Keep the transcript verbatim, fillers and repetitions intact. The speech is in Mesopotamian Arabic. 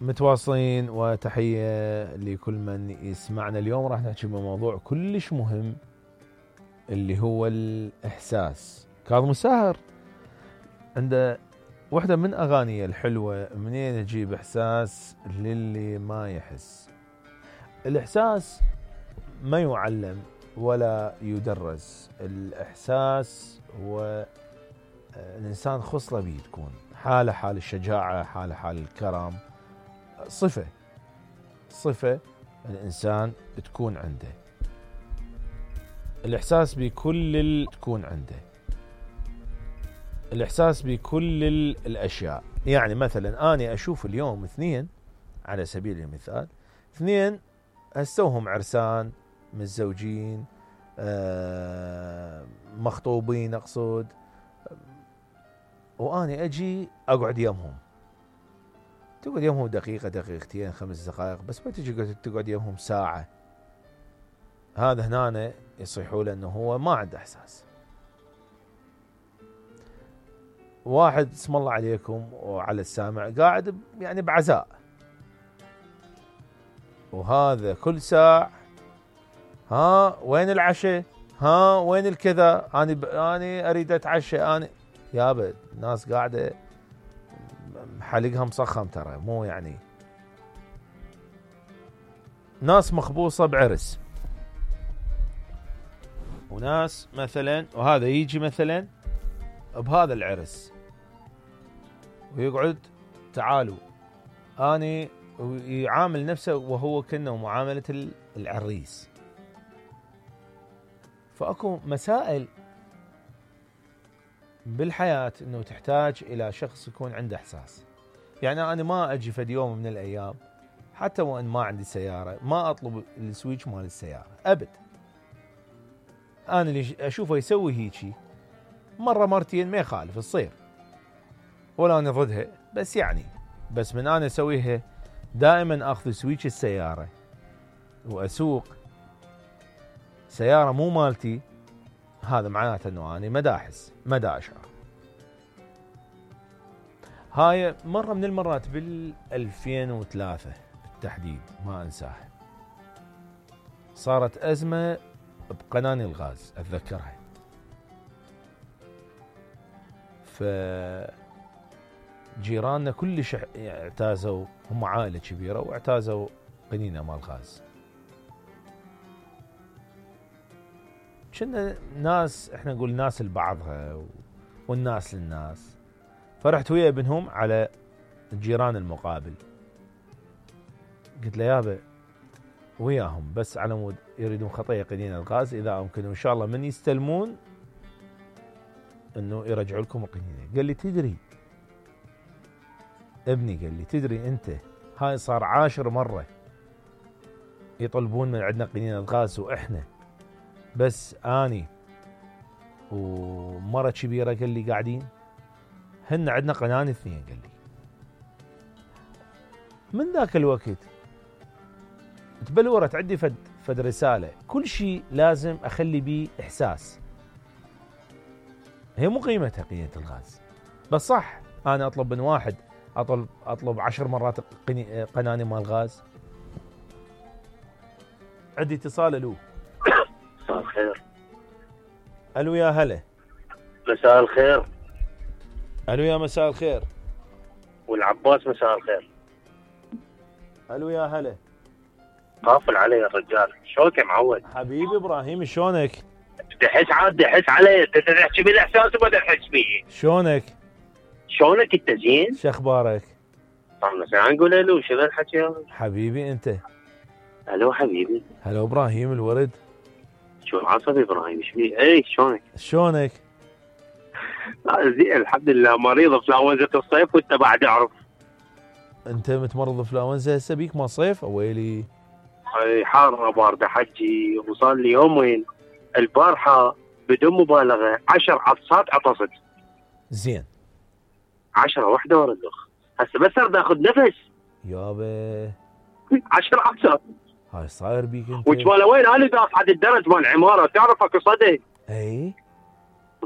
متواصلين وتحية لكل من يسمعنا. اليوم راح نحكي بموضوع كلش مهم اللي هو الإحساس. كاظم الساهر عنده واحدة من أغانيه الحلوة، منين يجيب إحساس للي ما يحس. الإحساس ما يعلم ولا يدرس، الإحساس هو الإنسان خصلة بيه تكون، حالة حال الشجاعة، حالة حال الكرم، صفة صفة الإنسان تكون عنده. الإحساس بكل اللي تكون عنده، الإحساس بكل الأشياء. يعني مثلا أنا أشوف اليوم اثنين على سبيل المثال، اثنين هستوهم عرسان متزوجين آه مخطوبين أقصد، وأنا أجي أقعد يمهم، تقعد يمهم دقيقة دقيقتين خمس دقائق، بس ما تجي تقعد يمهم ساعة. هذا هنا يصيحوا له أنه هو ما عنده إحساس. واحد اسم الله عليكم وعلى السامع قاعد يعني بعزاء، وهذا كل ساعة ها وين العشاء، ها وين الكذا، أنا ب... أنا أريد أتعشى، أنا يابا الناس قاعدة حلقها مصخم ترى، مو يعني ناس مخبوصة بعرس، وناس مثلا وهذا يجي مثلا بهذا العرس ويقعد تعالوا أنا، ويعامل نفسه وهو كأنه معاملة العريس. فأكو مسائل بالحياة انه تحتاج الى شخص يكون عنده احساس. يعني انا ما اجي فد يوم من الايام حتى وان ما عندي سيارة ما اطلب السويتش مال السيارة ابد. انا اللي اشوفه يسوي هيجي مرة مرتين ما يخالف تصير، ولا انا ضدها، بس يعني بس من انا اسويها دائما اخذ سويتش السيارة واسوق سيارة مو مالتي، هذا معناته انه انا مداحس مدى اشعر. هاي مرة من المرات بال ألفين وثلاثة بالتحديد ما انساها، صارت ازمة بقناني الغاز اتذكرها. ف جيراننا كلش اعتازوا، هم عائلة كبيرة واعتازوا قنينة مال غاز. كنا ناس احنا نقول ناس لبعضها والناس للناس، فرحت ويا ابنهم على الجيران المقابل، قلت له يابا وياهم بس على مود يريدون خطية قنينة الغاز، اذا ممكن ان شاء الله من يستلمون انه يرجعوا لكم القنينة. قال لي تدري ابني، قال لي تدري انت هاي صار عاشر مرة يطلبون من عندنا قنينة الغاز، واحنا بس اني ومرة كبيرة قال لي قاعدين، هن عندنا قنان اثنين. قال لي من ذاك الوقت تبلورت عندي فد فد رسالة، كل شيء لازم اخلي بيه احساس. هي مو قيمتها قنينة الغاز، بس صح انا اطلب من واحد اطلب اطلب عشر مرات قناني مال غاز. عندي اتصال. الو مساء الخير. الو يا هلا. مساء الخير. الو يا مساء الخير. والعباس مساء الخير. الو يا هلا. قافل علي الرجال، شلونك يا معود؟ حبيبي ابراهيم شلونك؟ دحس عاد دحس علي، انت تحكي بالاحساس وما تحس بيه. شلونك؟ شلونك انت زين؟ شو اخبارك؟ طبعا ساعة نقول الو، شنو الحكي هذا؟ حبيبي انت. الو حبيبي. هلا ابراهيم الورد. شو عصبي ابراهيم ايش بيه؟ اي شلونك؟ شلونك؟ لا زين الحمد لله، مريض بفلاونزة الصيف وانت بعد اعرف. انت متمرض بفلاونزا هسه بيك ما صيف؟ ويلي اي حاره بارده حجي، وصار لي يومين البارحه بدون مبالغه عشر عطسات عطست. زين عشرة واحدة ورا الاخ، هسه بس ارد اخذ نفس يابا عشر عطسات. هاي صاير بيك انت؟ وجماله وين انا داف عند الدرج مال العماره، تعرف اكو صدى. اي